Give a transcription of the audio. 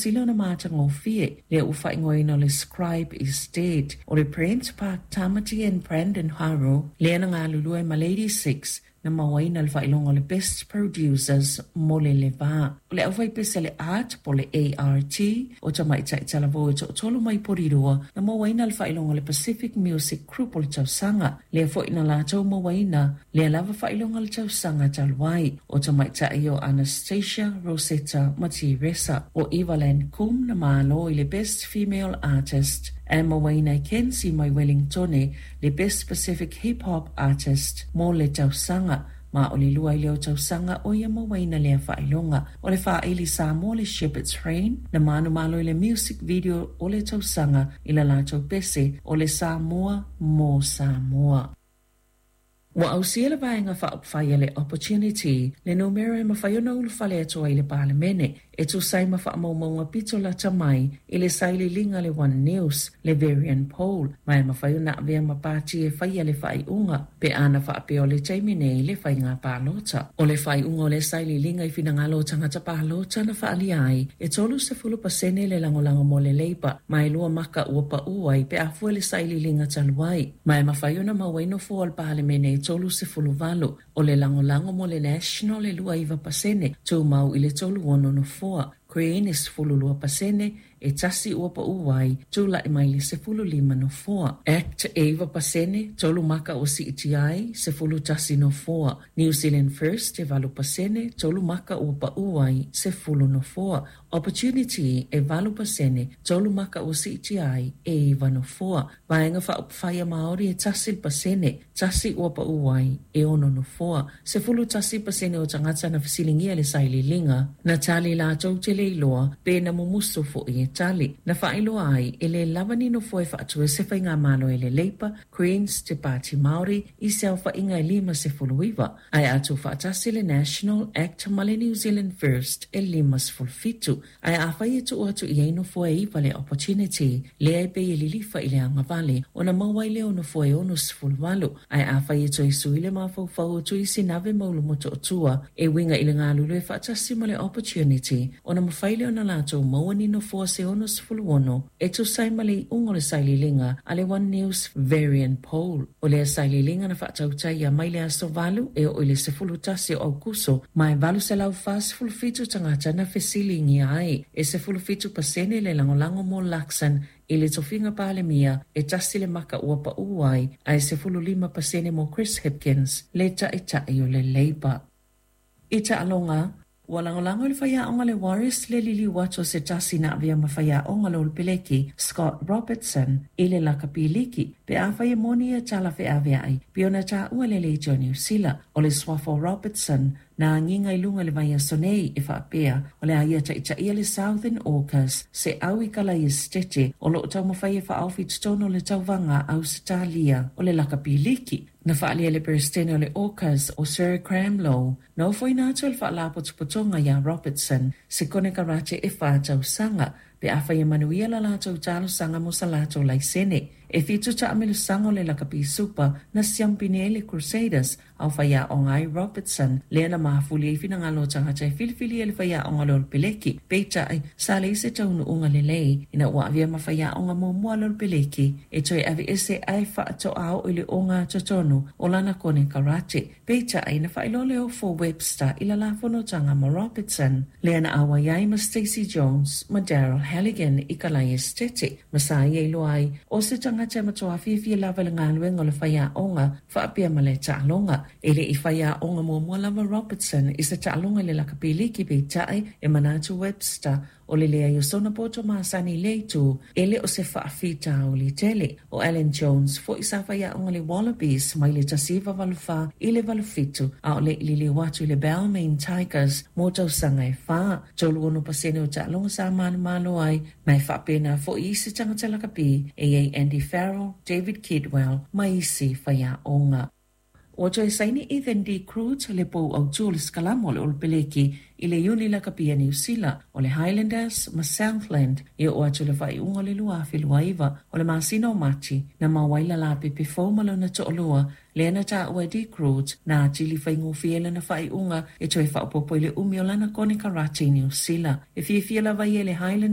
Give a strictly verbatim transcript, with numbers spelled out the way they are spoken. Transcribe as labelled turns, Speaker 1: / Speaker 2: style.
Speaker 1: sili ona matagofie lea ua faaigoaina o le Scribe is Dead. O le Brent Park Tamati and Brandon Haro lea na galulue ma Lady Six na mauaina le faailoga o le Best Producers mo le le va. O le aufaipese le Art po le A R T o tamaitai talavou e toatolu mai Porirua na mauaina le faailoga o le Pacific Music Group o le tausaga. Lea foi na latou mauaina lea lava faailoga le tausaga talu ai. O tamaitai o Anastasia, Rosetta ma Teresa. O Evaland Kum na malo i le Best Female Artist ae mauaina e Kenzie mai Wellingtone le Best Pacific Hip Hop Artist mo le tausaga ma o le lua i leo tausaga o ia mauaina lea faailoga. O le faaili Samoa le Shepherd's Rain na manumalo i le Music Video o le tausaga i la latou pese o le Samoa mo Samoa. Ua ausia le vaega faaupufai a le Opportunity le numera e mafai ona ulufale atu ai i le Palemene e tusa ai ma faamaumauga pito lata mai i le sailiiliga le One News le Verian Poll, ma e mafai ona avea ma pati e faia le faaiuga pe ana faapea o le taimi nei le faiga palota. O le faaiuga o le sailiiliga i finagalo o tagata palota na faaalia ai e thirty pasene le lagolago mo le Labour, ma e lua maka ua paʻu ai pe a fua le sailiiliga talu ai, ma e mafai ona maua ai nofoa o le Palemene e thirty eight. O le lagolago mo le National e twenty-nine pasene, tumau i le thirty-six nofoa. Green e twelve pasene, e tasi ua paʻu ai, tulaʻi mai le fifteen nofoa. ACT e nine pasene, tolu maka ua siitia ai, eleven nofoa. New Zealand First e eight pasene, tolu maka ua paʻu ai, ten nofoa. Opportunity e eight pasene, tolu maka ua siitia ai, e nine nofoa. Vaega Faaupufai a Maori e one pasene, tasi ua paʻu ai, e six nofoa. Eleven pasene o tagata na fesiligia le sailiiliga na tali latou te le iloa pe na mumusu foʻi e tali. Na faailoa ai e lē lava ni nofoa e faatu ai se faigamalo e le Labour, Greens, te Pāti Māori i se aofaʻiga e fifty-nine, ae a tuufaatasi le National, ACT ma le New Zealand First e fifty-seven. Ae afai e tuu atu i ai nofoa e iva le Opportunity lea e pei e lilifa i le agavale ona maua ai lea o nofoa e sixty-eight, ae afai e toe sui le mafaufau o Tuisinave ma Ulumotootua e uiga i le galulue faatasi ma le Opportunity ona mafai lea ona latou maua ni nofoa se sixty-six e tusa ai ma le iuga o le sailiiliga a le One News Verian Poll. O lea sailiiliga na faatautaia mai le aso valu e oo i le eleven o Aukuso, ma e eight hundred forty-seven tagata na fesiligia ai. E seventeen pasene le lagolago mo Luxon i le tofiga Palemia, e tasi le maka ua paʻu ai, ae fifteen pasene mo Chris Hipkins le taʻitaʻi o le Labour. I taaloga, ua lagolago le faiaoga le Warriors le liliu atu o se tasi na avea ma faiaoga le Olepeleki Scott Robertson i le lakapi liki pe afai e moni ia tala feaveai pe ona taua le leitio Niu Sila. O le suafa o Robertson na agiga i luga le vaiaso nei e faapea o le a ia taʻitaʻia le Southern Orcas se au i kala Esetete o loo taumafai e faaofi totonu o le tauvaga Ausetalia o le lakapi liki. Na faaalia le Peresetene o le Orcas o Sir Graham Lowe na ofoina atu le faalapotopotoga iā Robertson se konekarate e whā tausaga pe afai e manuia la latou talosaga mo sa latou laisene. E fitu taamilosaga o le lakapi Super na siampini ai le Crusaders ao faiaoga ai Robertson lea na mafuli ai finagalo o tagata e filifili e le faiaoga le Olepeleki. Peitai sa leai se taunuuga lelei ina ua avea ma faiaoga muamua le Olepeleki e toe aveese ae faatoa oo i le ogatotonu o lana konekarate. Peitai na faailoa le ofo Webster i lalā fonotaga ma Robertson lea na auai ai ma Stacey Jones ma Daryl Halligan i kalai Esetete ma sa ia iloa ai o se tagata e matuā fiafia lava i le galuega o le faiaoga faapea ma le taaloga. E le i faiaoga muamua lava Robertson i se taaloga i le lakapi liki, peitai e manatu Webster o le leai o sona poto masani le itu e le o se faafitauli tele. O Alan Jones foi sa faiaoga le Wallabies mai le tasi iva valu fa i le valu fitu a o le i liliu atu i le Balmain Tigers mo tausaga e fa. Thirty-six pasene o taaloga sa manumalo ai, ma e faapena foi isi tagata lakapi e iai Andy Farrell, David Kidwell ma isi faiaoga. Ua toe saini Ethan de Groot le pou autū o le sikalama o le Olepeleki i le iuni lakapi a Niu Sila o le Highlanders ma Southland e oo atu le faaiuga o le twenty twenty-nine. O le masina o Mati na maua ai le lapepe fou ma lona toalua lea na taua e de Groot na atili faigofie lana faaiuga e toe faaopoopo i le umi o lana konekarate i Niu Sila. E fiafia lava ia i le Highlanders.